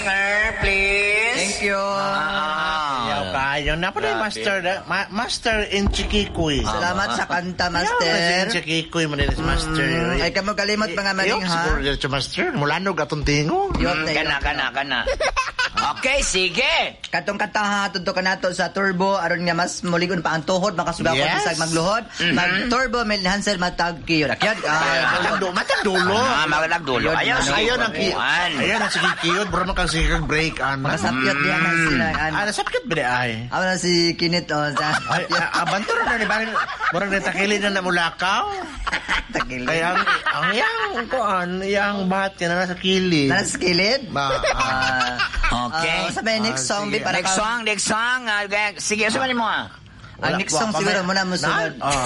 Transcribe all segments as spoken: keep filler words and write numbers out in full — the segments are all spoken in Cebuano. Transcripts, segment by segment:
Singer, please. Thank you. Ah. Yaw kayo. Na pa Grabe. master, ma- master in Chikikoy. Salamat sa kanta, Master. Master. In Chikikoy mo din si Master. Mm, ay kamo kalimot mga maring Iyok, ha. siguro dito, Master. Mulanog atong tingog. Yop Mm, na kana, yop. kana, kana. Okay, sige. Katong kanta ha, tudto ka nato sa turbo aron nga mas muligon pa ang tuhod makasugakot Yes. bisag magluhod. Mag turbo Mel Hansel matag kiyo. Akyod. Ah, Matagdulo. Matagdulo. Ah, magdagdulo. Yun, Ayaw, ano. sige. Ayaw ng ki... Kuan. Ayaw ng sige kiyod. Bro, man kang sige kang break. Ano? Makasapyot diya na sila. Ano. Ah, nasapyot ba di ay? Amo na si Kinit oh, sa Ay, ah, abanto na ni Barin. Murag na takili na namulakaw. tagilid. Kaya ang, ang yang, kuan, yang bat, yan na nasa kilid. Nasa kilid? Ba, ah. Ah, Okay. ah, sa may next Ah, song, sige. bi, para Next ka- song, next song. Ah, Sige, sa mo ah. Ang next song Wala pa siguro may- muna mo sunod. Na? Ah.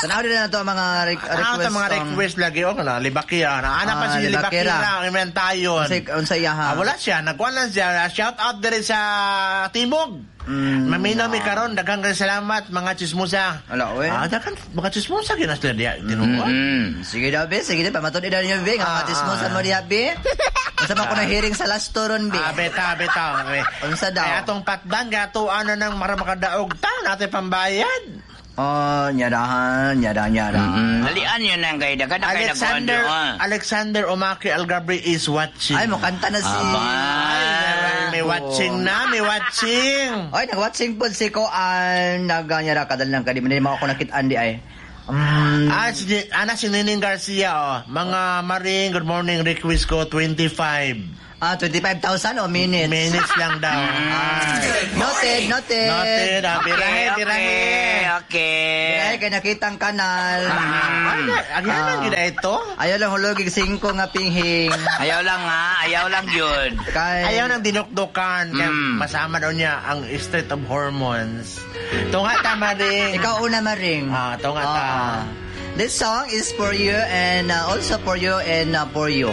Tanaw din na to ang mga re- Ano request ito mga song. request lagi? O, na, Libakira. Na, ana pa Ah, si Libakira. Libakira. Ang iman tayon. Unsay unsay iya ha? Ah, wala siya. Nagkuhan lang siya. Shout out din sa Timog. Mm. Maminaw mi karon daghang kay salamat mga chismosa. Wala, oy. Ah, daghan mga chismosa gyud na sila diya tinuod. Mm. Sige daw, be. Sige daw. Pamatud daw niyo, be. Nga Ah, katismosa ah. mo diha, be. Unsa man ko na hearing sa last ron, be. Ah, beta, beta. Okay. Unsa daw? Kaya atong patdan, kaya ato ano nang mara makadaog ta, natin pambayad. Oh, nyarahan, nyara, nyara. Mm. Dalian yun ang kay dagan na kay Alexander nagkuan doon. Alexander Omaki Algabri is watching. Ay, mukanta na si... Aba. Ay, may watching na, may watching. Ay, nag-watching po si Koan. Nag-nyara kadal lang kadi. Hindi mo ako nakitaan di ay. Mm, Ah, si, ana si Nining Garcia, oh. Mga Maring, good morning, request ko, twenty-five. Ah, twenty-five thousand o minutes? Minutes lang daw. Ah, noted, noted. Noted. Ah, birahe, Okay, birahe. okay, okay. Birahe kay nakitang kanal. Ay, agyanan Ah. gid ito. Ayaw lang hulog singko nga pinghing. Ayaw lang ha, ayaw lang yun. Kay, Ayaw ng dinukdukan. Kaya Mm. masama daw niya ang Street of Hormones. Tunga ta, Maring. Ikaw una, Maring. Ah, tunga ta. Ah. This song is for you and uh, also for you and uh, for you.